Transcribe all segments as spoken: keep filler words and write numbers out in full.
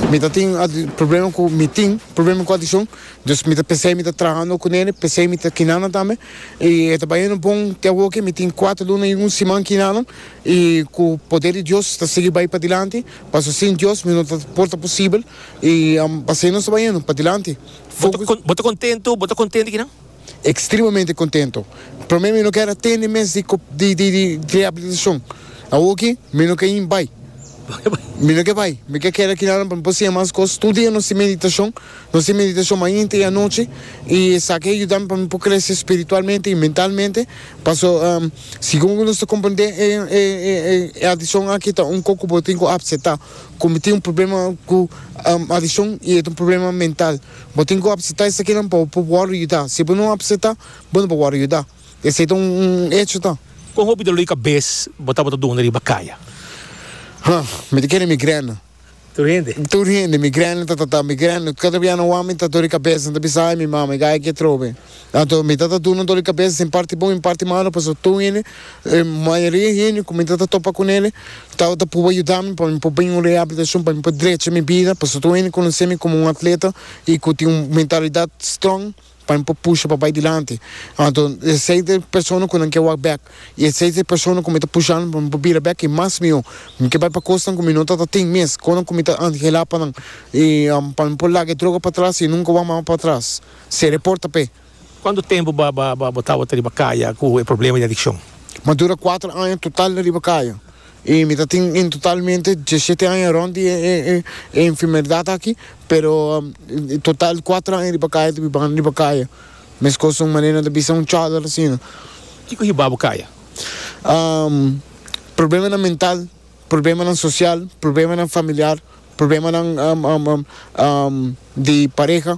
Mi ta tin problema ku mi tin problema ku adikshon, dus mi ta p'esei mi ta trahando kuné, p'esei mi ta kinanan tambe. I e ta bayendo bon te awor, mi tin kuater luna i un siman kinanan i ku poder di Dios ta sigui bai padilanti. Paso sin Dios mi no ta por ta posibel i um, p'esei nos ta bayendo padilanti. Bo ta kontentu, bo ta kontentu akinan? Ekstremamente kontentu. Promé mi no ke tende mes di, di, di, di rehabilitashon. Awor mi no ke bai. Mi no ke bai. Mi ke keda akinan pa por mas kos. Tur dia nos tin meditashon. Nos tin meditashon mainta i anochi. I esaki a yuda pa mi krese spiritualmente i mentalmente. Paso, um, segun nos komprondé e, e, e, e adikshon aki ta un poko bo tin ku aseptá. Komo tin un problema ku um, adikshon i e un problema mental. Bo tin ku aseptá esakinan pa por yuda. Si bo no aseptá, bo no por yuda. Esei ta un, un hecho, ta? Kon hopi doló di kabes bo tabata duna riba kaya? Huh, mi ta kere migrana. Tur hende? Tur hende, migrana, ta ta ta, migrana. Kada bia no mi ta dor di kabes, ta bisa: "Ai, mi mama, gai ke trobe." Anto, mi ta ta duna dor di kabes, in parti bon, in parti malo, paso tur hende, eh, mayoria hende, ku mi ta ta topa kuné, ta ta por yuda mi pa mi por bin un rehabilitashon, pa mi por drecha mi bida, paso tur hende konosé mi komo un atleta i ku tin un mentalidat strong, pa mi pusha pa bai dilanti. Anto, esei ta persona ku nan ke walk back. I esei ta persona ku mi ta pushando pa mi bira back i mas mihó. Mi ke bai pa kosnan ku mi no ta tin mes, kosnan ku mi ta anhelá pa nan. I um, pa mi por laga droga patras i nunka wak mas patras. Se reporta pe. Kuantu tempu bo bo bo bo tabata riba kaya ku e problema di adikshon? Mi a dura kuater aña total riba kaya. I mi tin en totalmente diesshete aña rònt di e, e, e enfermedat aki, pero um, total kuater aña riba kaya, biba riba kaya. Meskos un manera di bisa un chòler asina. Kiko a hiba bo kaya? Um, problema mental, problema sosial, problema familiar, problema um, um, um, um, di pareha.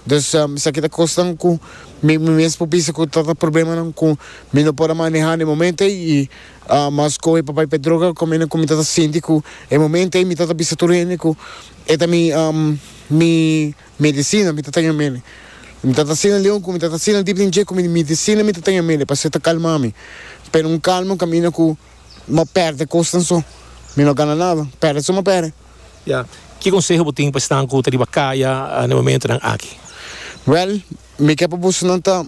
Dus um, esaki ta kosnan ku mi mi mes por bisa ku ta problema ku mi no por manehá na momento i uh, mas kohe pa bai pa droga komo ku mi ta sinti ku e momento ei mi ta bisa tur hende ku e ta mi um, mi medisina mi ta mene. Mi ta asina leon ku mi ta asina deep den ku mi medisina mi ta mene pa ta kalma mi. Pero un kalmo kaminda ku m'a pèrdè kosnan so. Mi no gana nada, pèrdè so m'a pèrdè. Ja. Ki konseho bo tin pa esnan ku ta riba kaya na e momentonan aki? Well, mi ke pa boso nan ta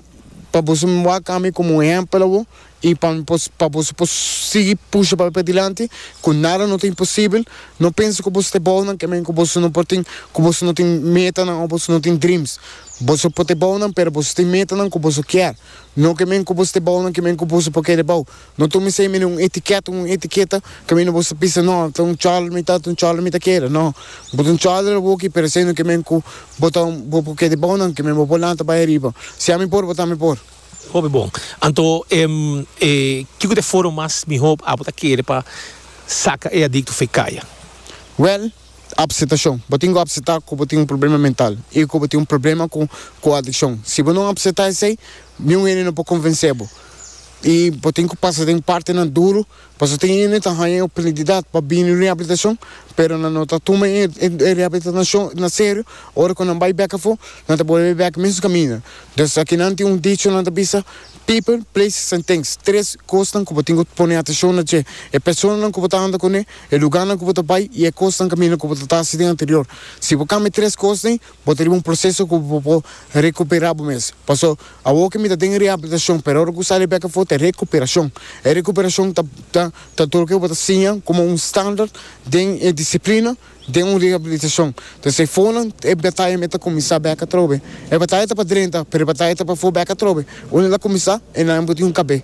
pa boso wak ami komo un ehèmpel i pa pa boso por sigui pusha pa dilanti, ku nada no ta imposibel. No pensa ku boso ta bon, ke men ku boso no por tin ku boso no tin metanan òf boso no tin dreams. Boso por ta bon, pero boso tin metanan ku boso ke. No ke men ku boso ta bon, ke men ku boso por kere bon. No tuma esei un etiketa, un etiketa ke men boso pensa: "No, ta un chòler mi ta, un chòler mi ta kere." No. Bo ta un chòler aki, pero esei no ke men ku bo ta bo por kere bon, ke men bo por lanta bai ariba. Si ami por, bo tambe por. Hopi bon. Anto, em, eh, kiko ta e forma mas mihó abo ta kere pa saka e adikto fo'i kaya? Well, aseptashon. Bo tin ku aseptá ku bo tin un problema mental i ku bo tin un problema ku ku adikshon. Si bo no aseptá esei, ningun hende no por konvensé bo. I bo tin ku pasa den partinan duru, paso tin hende ta haña oportunidat pa bin rehabilitashon, pero nan no ta tuma e, e rehabilitashon na serio, ora ku nan bai bèk afó, nan ta bolbe bèk mes kaminda. Dus aki nan tin un dicho, nan ta bisa: "People, places and things." Tres kosnan ku bo tin ku pone atenshon na dje. E personanan ku bo ta anda kuné, e lugánan ku bo ta bai i e kosnan kaminda ku bo ta hasi anterior. Si bo kambia tres kosnan, bo tin un proseso ku bo por rekuperá bo mes. Paso awor ku mi ta den rehabilitashon, pero ora ku sali bèk afó ta rekuperashon. E rekuperashon ta ta ta tur ku bo ta siña komo un standard di eh, disiplina di un rehabilitashon. Anto, si for e bataya mi ta kuminsá bèk atrobe. E bataya ta pa drenta, pero e bataya ta pafó bèk atrobe. Unda el a kuminsá, e nan tin un kabé.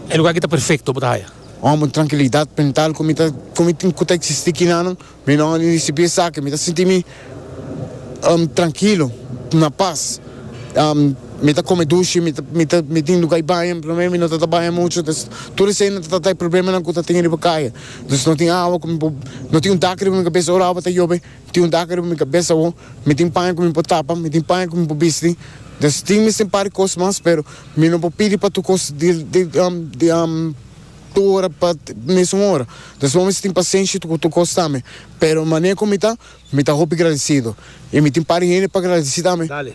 E lugá aki ta perfekto pa bo? Un trankilidat mental ku mi ta ku mi tin ku ta eksistí akinan, mi no risibí esaki, mi ta sinti mi um, trankil, na pas. Um, mi ta kome dushi, mi ta mi ta mi tin lugá di baño, promé mi no ta baña muchu, dus tur esei no ta ta problema ku ta tin riba kaya. Dus no tin awa, ku no tin un dak riba mi kabes, ora awa ta yobe, tin un dak riba mi kabes, mi tin paña ku mi por tapa, mi tin paña ku mi por bisti. Dus tin mi un par di kos mas, pero mi no por pidi pa tur kos di di um, di um, tur ora pa mesun ora. Dus bo mester tin pasenshi ku tur kos tambe. Pero manera ku mi ta, mi ta hopi gradesido. I mi tin par di hende pa gradesí tambe. Dale.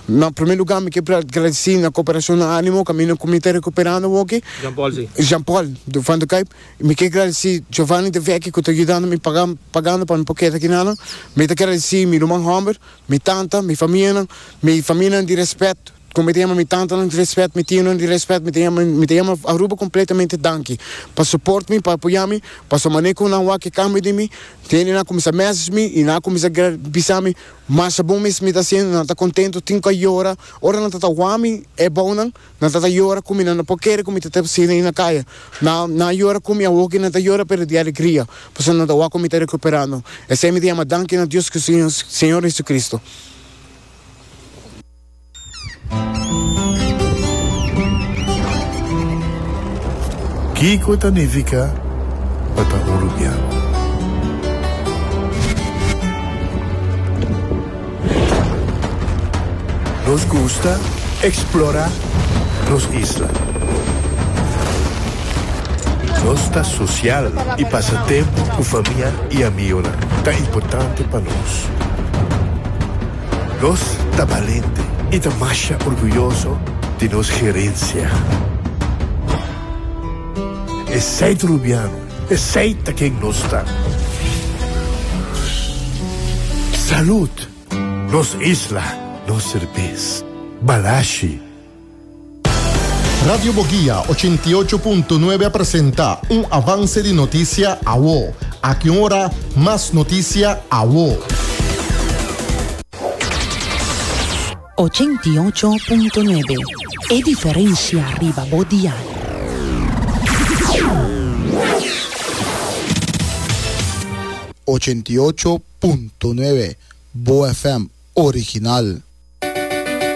Na promé lugá mi ke gradesí na Koperashon na Ánimo kaminda ku mi ta rekuperando awoki. Jean Paul, si. Jean Paul, van de Kuip. Mi ke gradesí Giovanni de Vecchi ku ta yudando mi paga, pagando pa mi por keda aki nan. Mi ta gradesí mi ruman hòmber, mi tanta, mi famianan, mi famianan di rèspèt. Komo mi ta yama mi tantanan di rèspèt, mi tionan di rèspèt, mi ta yama, mi ta yama Aruba kompletamente danki. Pa support mi, pa apoyá mi, pa so manera ku nan wak e kambio di mi, tin nan kuminsá message mi i nan kuminsá bisa mi, masha bon mes mi ta hasiendo, nan ta kontentu, tin ku a yora. Ora nan ta wak mi e bounan, nan ta yora ku mi, nan no por kere ku mi ta asina na kaya. Nan nan yora ku mi, awor nan ta yora pero di alegria. Pasobra nan ta wak ku mi ta rekuperando. Esei mi ta yama danki na Dios ku Señor, Señor Jesucristo. Kiko ta nifiká pa ta un rubiano? Nos gusta eksplorá nos isla. Nos ta sosial i pasa tempu ku famia i amigu ta importante pa nos. Nos ta balente i ta masha orguyoso di nos herensia. Esei ta rubiano, esei ta ken nos ta. Salud, nos isla, nos serbes. Balashi. Radio Boguia ochenta i ocho punto nuebe presentá un avanse di notisia awo. Aki ora, mas notisia awo. ochenta i ocho punto nuebe. E diferensia riba bo dial. ochenta i ocho punto nuebe Bo F M original.